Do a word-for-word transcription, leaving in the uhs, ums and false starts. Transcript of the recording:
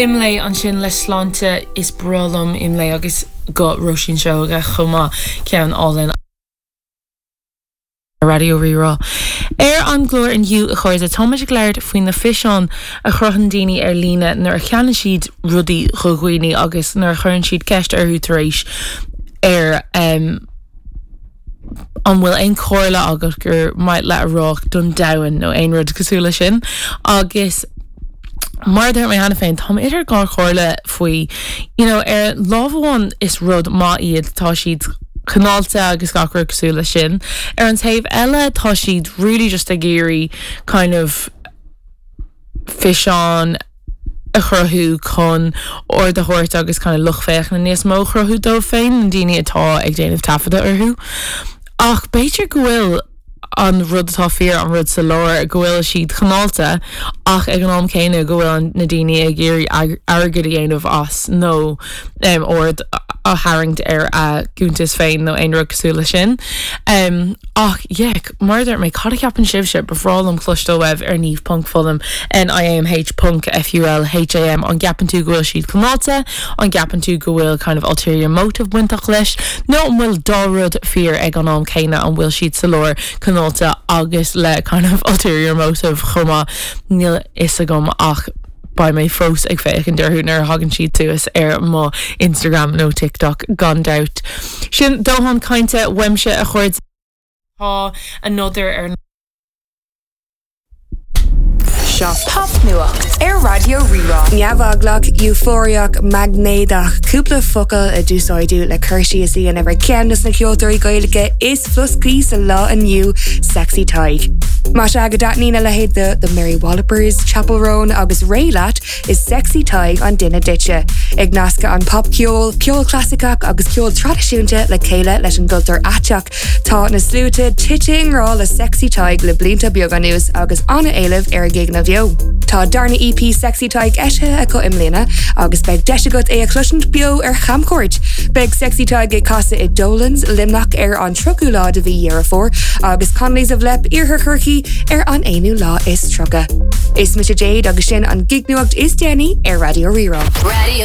Imlé ansin le sláinte is breá liom Imlé agus go Róisín Seoige chomh maith ceann álainn. Raidió Rí-Rá. Ar an gclár inniu a chairde táimid ag labhairt faoi na físeáin a chruthaíonn daoine ar líne nuair a cheannaíonn siad rudaí do dhaoine agus nuair a chuireann siad ceist orthu tar éis ar um, an bhfuil aon chomhairle agat gur maith leat a rá don domhan nó aon rud cosúil leis sin agus mar dúirt mé cheana féin Tá idir dhá chomhairle faoi you know, ar lámh amháin is rud maith iad tá siad cineálta agus gach rud cosúil leis sin. Ar an taobh eile tá siad really just ag iarraidh kind of físeán a chruthú chun aird a thabhairt agus kind of lucht féachana níos mó chruthú dóibh féin na daoine atá ag déanamh taifeadadh orthu. Ach b'fhéidir go bhfuil an rud atá fíor an rud sa lár go bhfuil siad cineálta ach ag an am céanna go bhfuil na daoine ag iarraidh airgead a dhéanamh as nó um, aird a tharraingt ar a gcuntas féin nó aon rud cosúil leis sin. Um, ach yeah, mar dúirt mé cad a cheapann sibhse ba bhreá liom cloisteáil uaibh ar Niamh ponc Fulham NIAMH ponc FULHAM an gceapann tú go bhfuil siad cineálta, an gceapann tú go bhfuil kind of ulterior motive bainteach leis, nó an bhfuil dá rud fíor ag an am céanna an bhfuil siad sa lár cineálta agus le kind of ulterior motive chomh maith níl fhios agam ach beidh mé fós ag féachaint orthu nuair a thagann siad suas ar mo Instagram nó TikTok gan dabht. Sin dóthain cainte uaimse a chairde tá another ar Seo Popnuacht ar Raidió Rí-Rá. Neamheaglach, eufóriach, maighnéadach, cúpla focal a d'úsáideadh le cur síos a dhéanamh ar ceann de na ceoltóirí Gaeilge is floscaí sa lá inniu Sexy Tadhg. Más ea go dtaitníonn a leithéid de The Mary Wallopers, Chappell Roan agus Raye leat is Sexy Tadhg an duine duitse. Ag nascadh an popcheol, ceol clasaiceach agus ceol traidisiúnta le chéile leis an gcultúr aiteach. Tá na sluaite tite i ngrá le Sexy Tadhg le blianta beaga anuas agus an-éileamh ar a gigeanna beo. Tá darna EP Sexy Tadhg eisithe acu i mbliana agus beidh deis agat é a chloisint beo ar chamchuairt. Beidh Sexy Tadhg ag casadh i Dolan's Luimneach ar an tríochadú lá de mhí Dheireadh Fómhair agus Connolly's of Leap Iarthar Chorcaí ar an aonú lá is tríocha. Is mise Jade agus sin an gignuacht is déanaí ar Raidió Rí-Rá. Radio